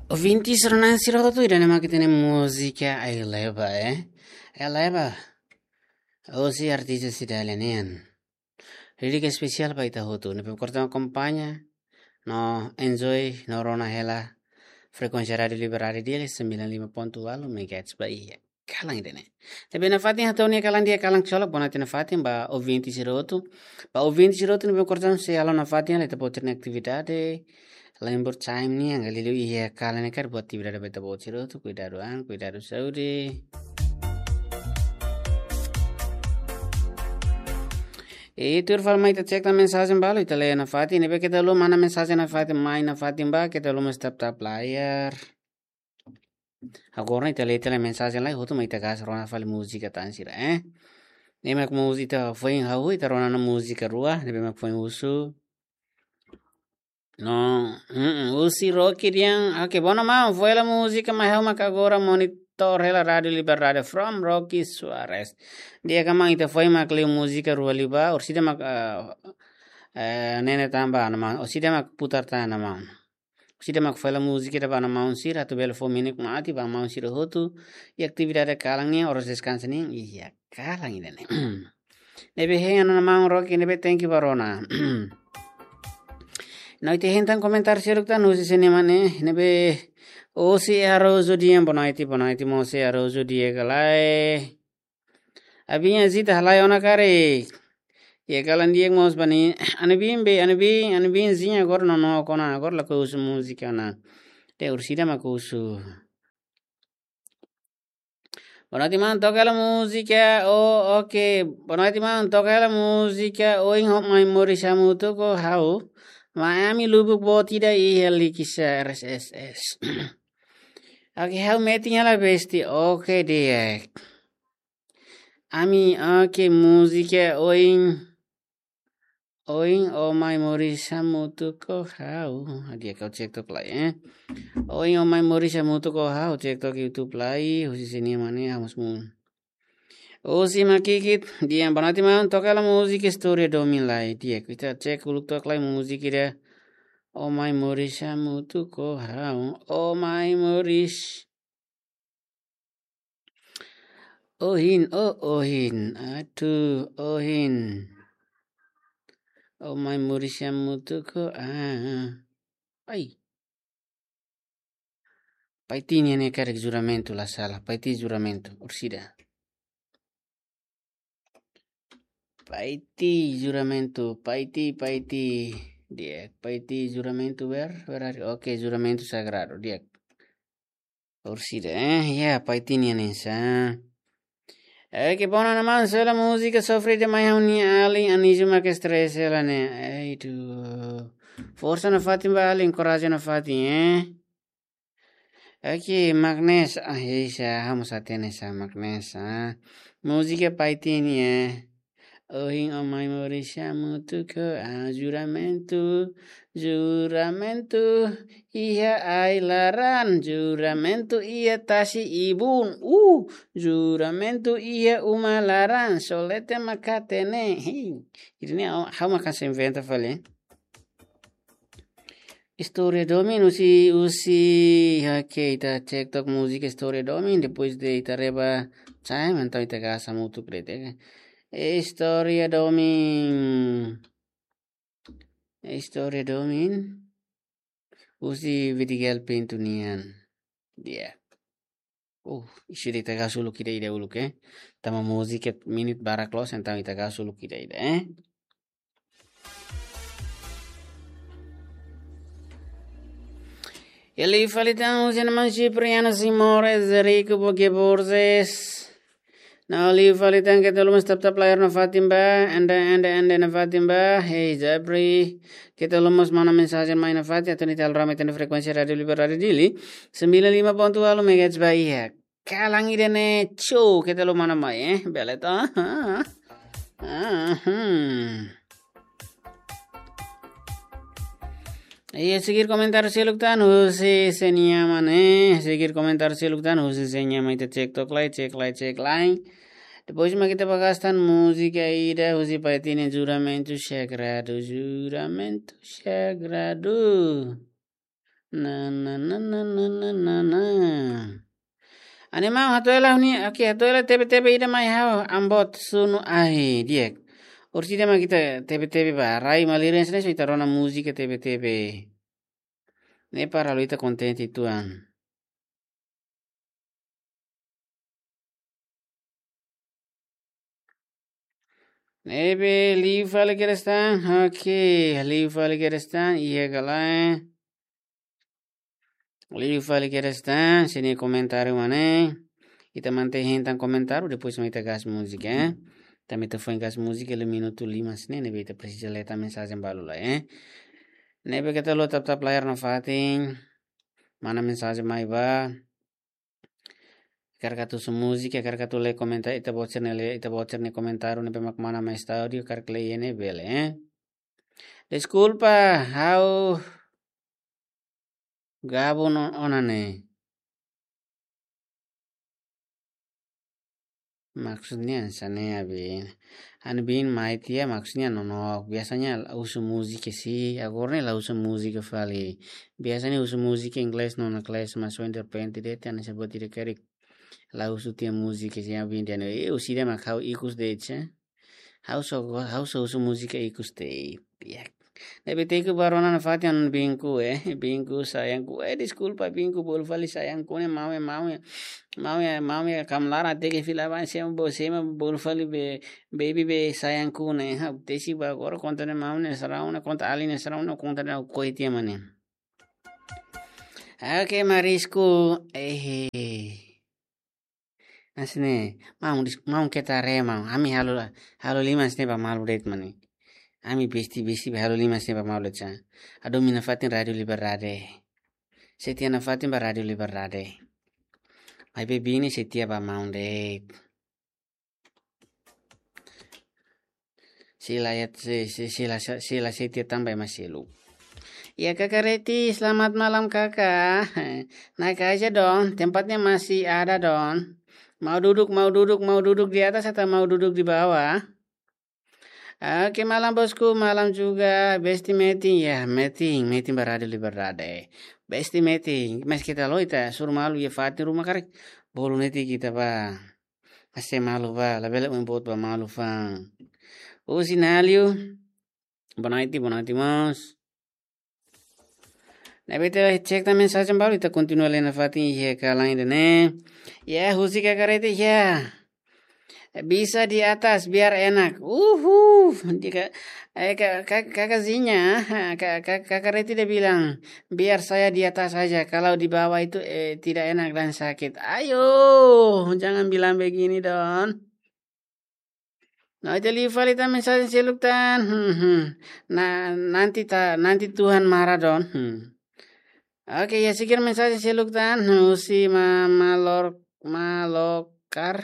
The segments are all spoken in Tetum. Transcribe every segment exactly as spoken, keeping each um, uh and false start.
Ouvintes, rona sira hotu, ida-ne'e mak ita-nia múzika Eleva, eh? Eleva. Hosi artista Cidalia nian. Lirika espesiál ba ita hotu. Ne'ebé korta akompaña, no enjoy, no rona hela. Frekuénsia Rádiu Liberdade Dili, sembilan lima ponto walu megahertz ba iha kalan ida-ne'e. Ne'ebé nafatin hato'o nia kalan di'ak, kalan ksolok, bonaiti nafatin ba ouvinte sira hotu. Ba ouvinte sira hotu ne'ebé korta sei halo nafatin hela ita-boot nia atividade. Lembur time nian, anga liuliu iha kalan ne'e karik buat atividade ba ita-boot sira hotu, kuidadu an, kuidadu saúde. I tuir fali mai ita cek tan mensajen balu, ita lee nafatin, ne'ebé keta haluha mana mensajen nafatin, mai nafatin ba, keta haluha mós tap-tap layar. Agora ita lee tiha lai mensajen lai, hotu mai ita gas rona fali múzika tan sira, eh. Ne'e mak múzika ita foin hahú, ita rona ona múzika rua, ne'ebé mak foin husu. No, mm, husi Rocky dehan, oke, bonatiu maun, foin hela múzika mai ha'u mak agora monitor hela Rádiu Liberdade from Rocky Soares. Di'ak maun, ita foin mak liu múzika rua liubá, orsida mak, ah, eh, nene tan ba ona maun, orsida mak putar tan ona maun. Orsida mak foin hela múzika ida ba ona maun sira, atu bele fó minik mate ba maun sira hotu, i atividade kalan nian, oras deskansa nian, iha kalan ida-ne'e. Ne'ebé hein ona maun Rocky, ne'ebé thank you ba rona. No ita hein tan komentáriu seluk tan husi sira-nia mane, ne'ebé Osi Araújo dehan bonaiti, bonaiti maun Osi Araújo di'ak ka lae. Abinha Zita halai ona karik. Iha kalan di'ak mós ba nia. Anubin be, Anubin, Anubinzinha agora nonook ona, agora lakohi husu múzika ona. Te orsida mak husu. Bonatiu maun, toka hela múzika, oh, oke. Bonatiu maun, toka hela múzika, ohin ho mai moris hamutuk ho ha'u. Mai ami lubuk boot ida iha Likisá R S S. Oke, ha'u metin hela besti, oke di'ak. Ami, oke, múzika, ohin. Ohin o mai moris hamutuk ho ha'u. Di'ak, ha'u cek took lai, eh. Ohin o mai moris hamutuk ho ha'u, cek took YouTube lai, husi sira-nia mane, ha'u mós mun. Osi Makikit, dehan bonatiu maun, toka hela múzika Istória Domin lai, di'ak, ita cek uluk took lai múzika ida. O mai moris hamutuk ho ha'u, o mai moris. Ohin, oh, ohin, atu, ohin. O mai moris hamutuk ho, ah. Ai. Paiti nian ne'e karik juramentu, la sala. Paiti juramentu, orsida. Paiti juramentu, Paiti, Paiti. Di'ak, Paiti juramentu ber, berari. Oke, juramentu sagradu, di'ak. Orsida, eh, ya, Paiti nian ne'e sa. Eh, ke bona na man sela múzika sofre demais ha'u-nia alin, Anísio mak stress hela ne'e. Ai, tu. Forsa nafatin ba alin, korajen nafatin, eh. Oke, Magnes, ah, isa, ha'u mós hatene sa Magnes, ah. Múzika Paiti nian, eh. Ohin o mai moris hamutuk ho, ah, juramentu, juramentu, iha ai-laran, juramentu iha tasi ibun, uh, juramentu iha uma laran, só leten mak hatene, hei. Ida-ne'e, ha'u, ha'u mak hanesan inventa fali. Istória Domin, husi, husi, oke, ita cek took múzika Istória Domin, depois de ita reba, sai, entaun ita gasta múzika de'it, eh. Istória Domin. Istória Domin. Husi Vidigal Pinto nian. Di'ak. Uh, isi ita gasta uluk ida-ida uluk, eh. Tanba múzika minit barak loos, entaun ita gasta uluk ida-ida, eh. Liu fali tan husi naman Cipriano Simões, Zerico Boque Borges. No liu fali tan keta haluha mós tap-tap layar nafatin ba, ende, ende, ende nafatin ba, hei Jabri. Keta haluha mós mana mensajen mai nafatin, atu nune'e ita halo rame iha frekuénsia Rádiu Liberdade Dili, sembilan lima ponto walu megahertz ba iha kalan ida-ne'e, show, keta haluha mana mai, eh, bele to. Ah, hmm. Iha seguir komentáriu seluk tan, husi sira-nia mane, seguir komentáriu seluk tan, husi sira-nia mane, ita cek took lai, cek lai, cek lai. Depois mak ita ba gasta tan múzika ida, husi Paiti nian, juramentu sagradu, juramentu sagradu. Na, na, na, na, na, na, na, na. Ane mau hato'o hela ne'e, oke, hato'o hela tebe-tebe ida mai ha'u, Ambot Sunu Ahi, di'ak. Orsida mak ita tebe-tebe ba, rai malirin sini so ita rona múzika tebe-tebe. Ne'e para halo ita kontente tuan. Ne'ebé liu fali kedas tan, oke, liu fali kedas tan, iha ka lae. Liu fali kedas tan, sini komentáriu mak ne'e. Ita mantein hein tan komentáriu, depois mak ita gas múzika, eh. Tanba ita foin gas múzika, liu minutu lima sini, ne'ebé ita presiza lee tan mensajen balu lai, eh. Ne'ebé keta haluha tap-tap layar nafatin, mana mensajen mai ba. Hakarak atu husu múzika, hakarak atu lee komentáriu, ita-boot sira-ne'e lee, ita-boot sira-nia komentáriu ne'ebé mak mana mai estádiu, hakarak lee iha ne'e bele, eh. Deskulpa, ha'u gabung ona ne'e. Maksudnya hanesan ne'e, Abin. Ha'u-nia biin mai tiha, maksudnya nonook. Biasanya la husu múzika sih, agora ne'e la husu múzika fali. Biasanya husu múzika inglés, nona kelas, mas ohin derrepente de'it, ha'u-nia sabat ida karik la husu tiha múzika sih, Abin dehan, eh, orsida mak ha'u ikus de'it, eh. Ha'u só go-, ha'u só husu múzika ikus de'it. Ya. Ne'ebé tenke ba rona nafatin ha'u-nia biinku, eh. Biinku, sayangku, eh, deskulpa, biinku, bolu fali sayangku ne'e, maun ya, maun ya. Maun ya, maun ya, kam laran hateke fila bá, semo bo, semo bolu fali be, baby be, sayangku ne'e. Ha'u tesi ba agora konta ne'e maun ne'e sarau ne'e, konta alin ne'e sarau ne'e, konta ne'e ha'u ko'alia tiha mak ne'e. Oke, marisku, eh. Hanesan ne'e, maun dis-, maun keta haree maun. Ami halo, halo liman sini ba malu de'it mak ne'e. Ami besti, besti ba halo liman sini ba malu de'it sa. Ha'u domin nafatin Rádiu Liberdade. Setia nafatin ba Rádiu Liberdade. Maibé biin ne'e setia ba maun de'it. Sila ya, si, si, sila, sila setia tanba ema seluk. Ya, Kakak Reti, selamat malam, Kakak. Naik aja dong, tempatnya masih ada dong. Mau duduk, mau duduk, mau duduk di atas atau mau duduk di bawah? Oke, malam bosku, malam juga. Besti metin, ya, metin, metin ba Rádiu Liberdade. Besti metin, mas keta haluha ita hasoru malu iha fatin ruma karik. Bolu netik ita ba. Hase'e malu ba, labele oin boot ba malu fa'an. Husi Naliu, boa noite, boa noite, irmãos. Ne'ebé ita cek tan mensajen balu, ita kontinua lee nafatin iha kalan ida-ne'e. Ya, husi Kakak Reti, ya. Bisa di atas, biar enak. Uhu, jika, eh, ka-, ka-, Kakak Zinya, ka-, ka-, Kakak Reti dia bilang, "Biar saya di atas saja, kalau di bawah itu, eh, tidak enak dan sakit." Ayo, jangan bilang begini, Don. Nah, ita liu fali tan mensajen seluk tan. Hmm, hmm. Nah, nanti ta-, nanti Tuhan marah, Don. Hmm. Oke, ya, sekian mensajen seluk tan. Hmm, husi ma-, malor-, malokar.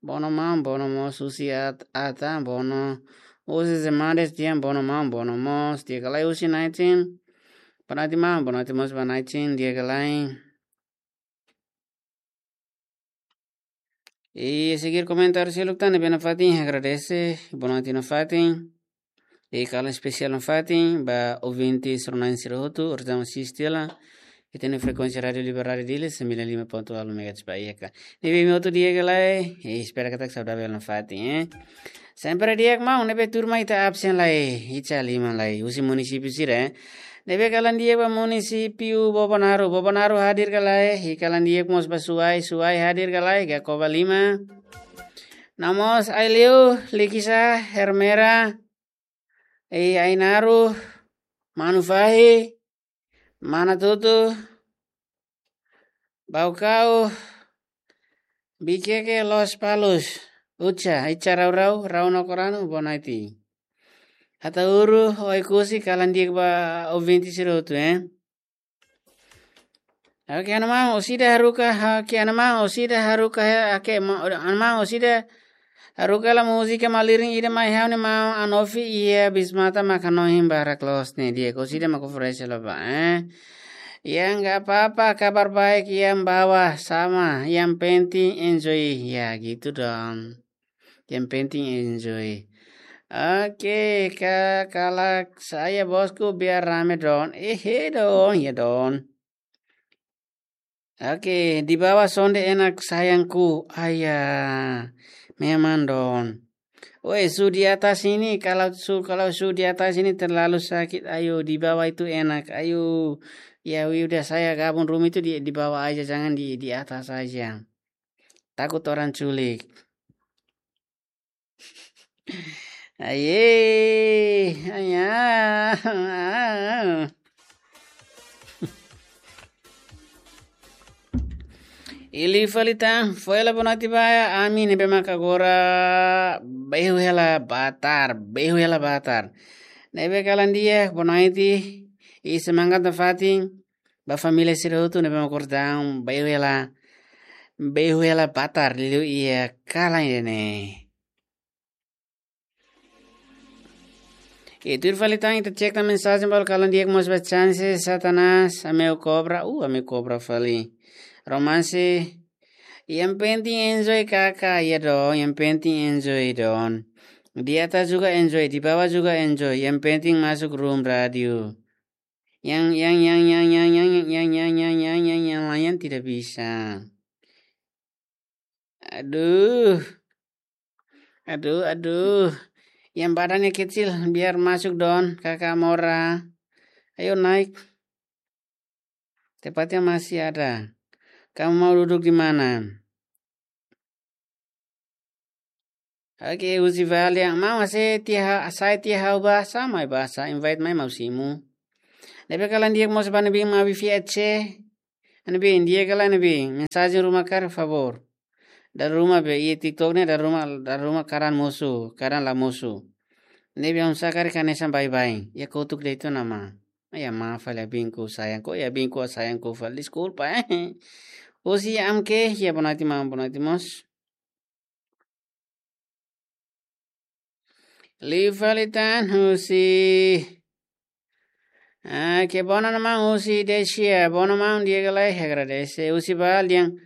Bono maun, bono mós husi At-, Atan, bono husi Zemades tian, bono maun, bono mós. Tiha ka lae husi Naitin. Boa noite maun, boa noite mós ba Naitin, tiha ka lae. I sekian komentáriu seluk tan ne'ebé nafatin, agradese, boa noite nafatin. I kalan espesiál nafatin ba ouvinte sira-na'in sira hotu, orsida mak asiste hela iha frekuénsia Rádiu Liberdade Dili, sembilan lima ponto nol megahertz ba I F M. Ne'ebé imi hotu di'ak ka lae, i espera katak saudavel nafatin, eh. Sempre di'ak maun, ne'ebé turma ita absen lai, iha lima lai, husi munisípiu sira, eh. Ne'ebé kalan di'ak ba munisípiu Bobonaro, Bobonaro hadir ka lae, i kalan di'ak mós ba Suai, Suai hadir ka lae, Gakoba lima. No mós Aileu, Likisá, Ermera, i Ainaro, Manufahi, Manatutu, Baucau, Viqueque, Lospalos, Utsa, Itsa Rau Rau, Rau Nakoranu, boa noite. Ataúro, Oekusi, kalan di'ak ba ouvinte sira hotu, eh. Oke, ha'u-nia maun, orsida haruka, oke, ha'u-nia maun, orsida haruka, oke, ma-, ha'u-nia maun, orsida haruka hela múzika malirin ida mai ha'u-nia maun Anofi iha bis mata mak hanoin barak loos ne'e di'ak, orsida mak oferese hela ba, eh. Ya, nggak apa-apa, kabar baik yang bawah sama, yang penting enjoy. Ya, gitu dong. Yang penting enjoy. Oke, ka-, kalak saya bosku biar rame don. Ehe don, ya don. Oke, di bawah sonde enak sayangku. Ayah, memang don. Woi, su di atas ini, kalau su, kalau su di atas ini terlalu sakit. Ayo, di bawah itu enak. Ayo, ya udah saya gabung rumah itu di, di bawah aja, jangan di, di atas aja. Takut orang culik. Aye, ayah. Liu fali tan, fó hela boa noite ba ami ne'ebé maka agora beihu hela batar, beihu hela batar. Ne'ebé kalan di'ak, boa noite, i semangat nafatin ba família sira hotu ne'ebé maka agora daudaun beihu hela, beihu hela batar liuliu iha kalan ida-ne'e. Oke, tuir fali tan ita cek tan mensajen balu kalan di'ak mós ba chance Satanás, ami-nia kobra, uh, ami-nia kobra fali. Romance, yang penting enjoy kakak, ya dong, yang penting enjoy don. Di atas juga enjoy, di bawah juga enjoy, yang penting masuk room radio. Yang, yang, yang, yang, yang, yang, yang, yang, yang, yang, yang, yang lain tidak bisa. Aduh. Aduh, aduh. Yang badannya kecil, biar masuk don, kakak Mora. Ayo naik. Tempatnya masih ada. Kamu mau duduk di mana? Oke, husi Valian. Mau ase tiha, sai tiha ha'u ba, sa mai ba, sa invite mai maun simu. Ne'ebé kalan di'ak mós ba ne'ebé mak abi fiat che. Ne'ebé di'ak kalan ne'ebé. Mensajen ruma karik favór. Dala ruma be, iha TikTok ne'e dala ruma, dala ruma karan mosu, karan la mosu. Ne'ebé oinsá karik hanesan baibain. Iha kotuk de'it ona maun. Iha maun fali, abinku sayangku, iha abinku sayangku fali. Deskulpa, eh. Husi Amke, iha boa noite maun, boa noite mós. Liu fali tan husi. Ah, que bom, maun, husi Dexia. Bom, maun, di'ak ka lae, agradese. Husi Valian.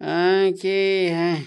Ah, que, eh.